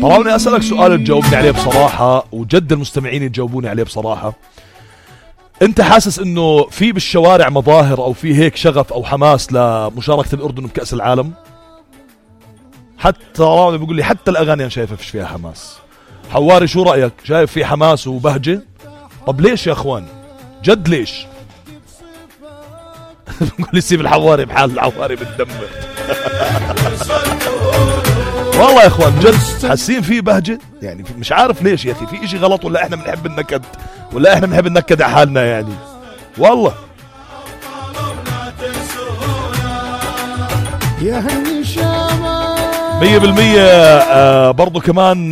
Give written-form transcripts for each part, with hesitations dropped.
طبعا بدي أسألك سؤال تجاوبني عليه بصراحة، وجد المستمعين يجاوبوني عليه بصراحة. انت حاسس انه في بالشوارع مظاهر او في هيك شغف او حماس لمشاركة الأردن بكأس العالم؟ حتى راوي بيقول لي حتى الأغاني أنا شايفها فيش فيها حماس. حواري شو رأيك؟ شايف في حماس وبهجة؟ طب ليش يا اخوان؟ جد ليش؟ بقول لي سيب الحواري بحال، الحواري بتدمر. والله يا اخوان جد حاسين في بهجة، يعني مش عارف ليش يا اخي، في اشي غلط ولا احنا بنحب النكد، ولا احنا بنحب النكد على حالنا يعني. والله يا هني شامة 100%. برضو كمان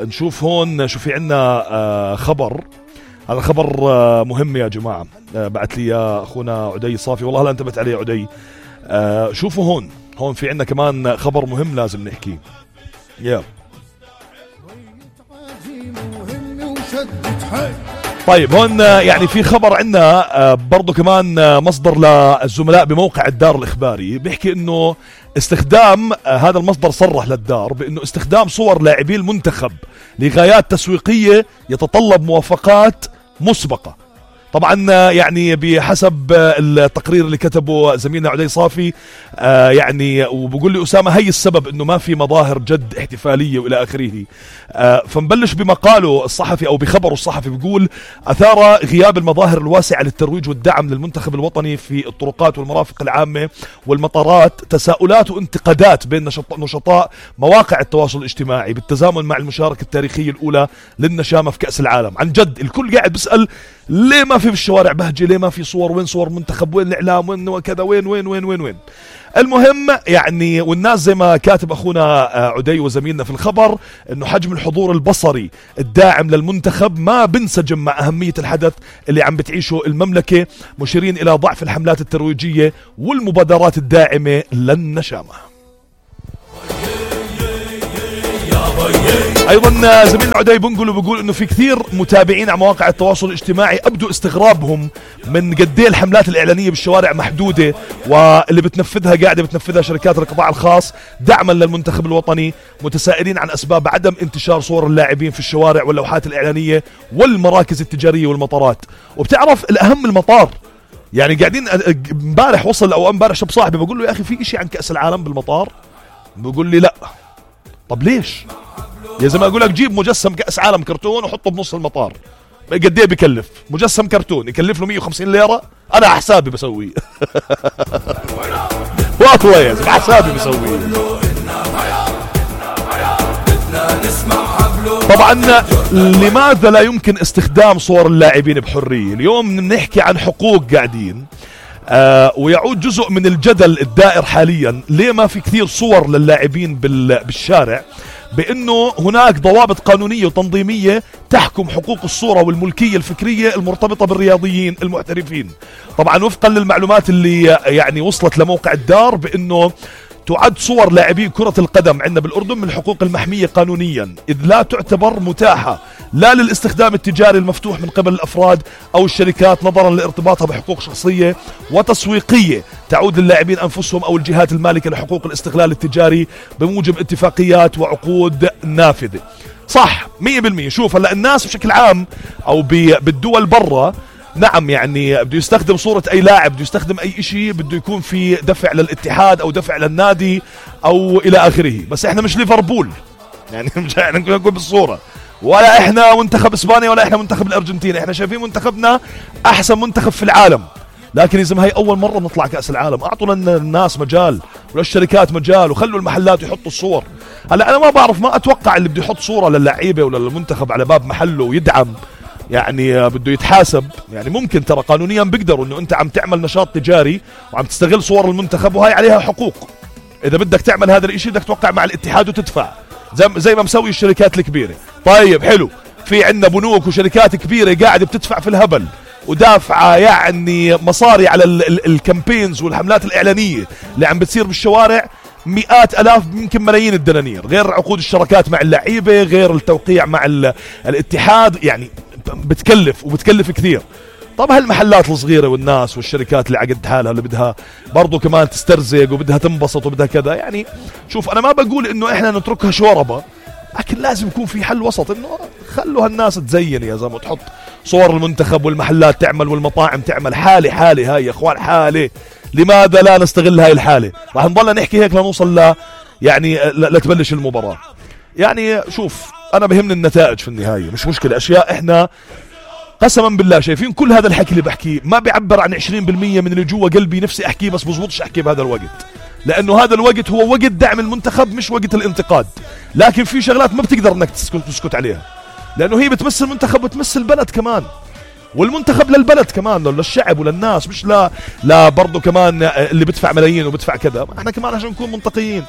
نشوف هون شو في عنا خبر. هذا خبر مهم يا جماعة، بعت لي أخونا عدي صافي، والله هلا انتبهت عليه عدي. شوفوا هون في عنا كمان خبر مهم لازم نحكيه. طيب هون يعني في خبر عنا برضو كمان مصدر للزملاء بموقع الدار الإخباري بيحكي انه استخدام، هذا المصدر صرح للدار بانه استخدام صور لاعبي المنتخب لغايات تسويقية يتطلب موافقات مسبقة. طبعا يعني بحسب التقرير اللي كتبه زميلنا عدي صافي يعني، وبقول لي أسامة هي السبب انه ما في مظاهر جد احتفالية والى اخره. فنبلش بمقاله الصحفي او بخبره الصحفي، بيقول اثار غياب المظاهر الواسعة للترويج والدعم للمنتخب الوطني في الطرقات والمرافق العامة والمطارات تساؤلات وانتقادات بين نشطاء مواقع التواصل الاجتماعي بالتزامن مع المشاركة التاريخية الاولى للنشامة في كأس العالم. عن جد الكل قاعد بيسأل ليه ما في الشوارع بهجة، ليه ما في صور، وين صور منتخب، وين الإعلام، وين وكذا، وين وين وين وين وين. المهم يعني، والناس زي ما كاتب أخونا عدي وزميلنا في الخبر إنه حجم الحضور البصري الداعم للمنتخب ما بنسجم مع أهمية الحدث اللي عم بتعيشه المملكة، مشيرين إلى ضعف الحملات الترويجية والمبادرات الداعمة للنشامة. ايضا زميلنا عدي بنقول وبقول انه في كثير متابعين على مواقع التواصل الاجتماعي ابدوا استغرابهم من قد ايه الحملات الاعلانيه بالشوارع محدوده، واللي قاعده بتنفذها شركات القطاع الخاص دعما للمنتخب الوطني، متسائلين عن اسباب عدم انتشار صور اللاعبين في الشوارع واللوحات الاعلانيه والمراكز التجاريه والمطارات. وبتعرف الاهم المطار، يعني قاعدين امبارح وصل او امبارح شاب صاحبي بقول له يا اخي في اشي عن كأس العالم بالمطار؟ بقول لي لا. طب ليش؟ يا زلمه اقول لك جيب مجسم كأس عالم كرتون وحطه بنص المطار، قد ايه بكلف؟ مجسم كرتون يكلف له 150 ليره، انا حسابي بسويه. والله يا زلمه حسابي بسويه. طبعا لماذا لا يمكن استخدام صور اللاعبين بحريه؟ اليوم بنحكي عن حقوق قاعدين، ويعود جزء من الجدل الدائر حاليا ليه ما في كثير صور للاعبين بالشارع، بأنه هناك ضوابط قانونية وتنظيمية تحكم حقوق الصورة والملكية الفكرية المرتبطة بالرياضيين المحترفين. طبعا وفقا للمعلومات اللي يعني وصلت لموقع الدار، بأنه تعد صور لاعبي كرة القدم عندنا بالأردن من الحقوق المحمية قانونيا، إذ لا تعتبر متاحة لا للاستخدام التجاري المفتوح من قبل الأفراد أو الشركات، نظرا لارتباطها بحقوق شخصية وتسويقية تعود للاعبين أنفسهم أو الجهات المالكة لحقوق الاستغلال التجاري بموجب اتفاقيات وعقود نافذة. صح 100%. شوف هلا الناس بشكل عام أو بالدول برا، نعم يعني بده يستخدم صورة أي لاعب، بده يستخدم أي إشي، بده يكون في دفع للاتحاد أو دفع للنادي أو إلى آخره. بس إحنا مش ليفربول، يعني مش إحنا نقول بالصورة، ولا إحنا منتخب إسبانيا، ولا إحنا منتخب الأرجنتين. إحنا شايفين منتخبنا أحسن منتخب في العالم، لكن إذا ما هي أول مرة نطلع كأس العالم، أعطوا للناس مجال وللشركات مجال، وخلوا المحلات يحطوا الصور. هلا أنا ما بعرف، ما أتوقع اللي بده يحط صورة للعيبة ولا للمنتخب على باب محله ويدعم يعني بده يتحاسب. يعني ممكن ترى قانونيا بيقدروا انه انت عم تعمل نشاط تجاري وعم تستغل صور المنتخب، وهي عليها حقوق. اذا بدك تعمل هذا الاشي بدك توقع مع الاتحاد وتدفع زي ما مسوي الشركات الكبيرة. طيب حلو، في عندنا بنوك وشركات كبيرة قاعدة بتدفع في الهبل ودافعة يعني مصاري على الكامبينز والحملات الإعلانية اللي عم بتصير بالشوارع، مئات ألاف يمكن ملايين الدنانير، غير عقود الشراكات مع اللعيبة، غير التوقيع مع الاتحاد، يعني بتكلف كثير. طب هالمحلات الصغيرة والناس والشركات اللي عقد حالها اللي بدها برضو كمان تسترزق وبدها تنبسط وبدها كذا، يعني شوف أنا ما بقول إنه إحنا نتركها شوربة، لكن لازم يكون في حل وسط، إنه خلوا هالناس تزين يا زلمة وتحط صور المنتخب والمحلات تعمل والمطاعم تعمل. حالة هاي يا إخوان، حالة. لماذا لا نستغل هاي الحالة؟ راح نضل نحكي هيك لنوصل يعني لتبلش المباراة. يعني شوف أنا بهمني النتائج في النهاية، مش مشكلة أشياء إحنا قسما بالله شايفين كل هذا الحكي اللي بحكيه ما بيعبر عن 20% من اللي جوا قلبي نفسي أحكيه، بس بزبطش أحكيه بهذا الوقت، لأنه هذا الوقت هو وقت دعم المنتخب مش وقت الانتقاد. لكن في شغلات ما بتقدر انك تسكت عليها، لأنه هي بتمثل المنتخب وتمثل البلد كمان، والمنتخب للبلد كمان للشعب وللناس، مش لا برضو كمان اللي بدفع ملايين وبدفع كذا. احنا كمان عشان نكون منطقيين،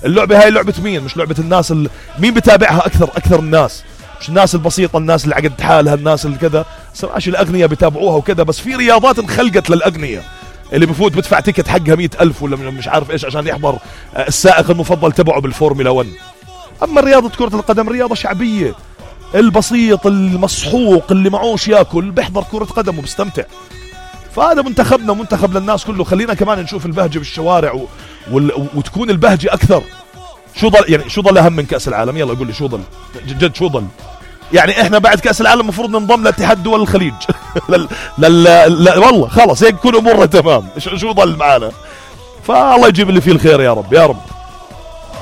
اللعبة هاي لعبة مين؟ مش لعبة الناس مين بتابعها أكثر الناس، مش الناس البسيطة، الناس اللي عقد حالها، الناس اللي كذا. سمعش الأغنياء بتابعوها وكذا، بس في رياضات انخلقت للأغنياء اللي بفوت بدفع تيكت حقها 100,000 ولا مش عارف ايش عشان يحضر السائق المفضل تبعه بالفورمولا 1. اما رياضة كرة القدم رياضة شعبية، البسيط المسحوق اللي معوش ياكل بيحضر كرة قدم وبستمتع. فهذا منتخبنا منتخب للناس كله، خلينا كمان نشوف البهجة بالشوارع وتكون البهجة أكثر. شو ضل أهم من كأس العالم؟ يلا قول لي شو ضل جد شو ضل؟ يعني احنا بعد كأس العالم المفروض ننضم لاتحاد دول الخليج والله خلاص هيك كل امورنا تمام. شو ضل معانا؟ فالله يجيب اللي فيه الخير يا رب يا رب.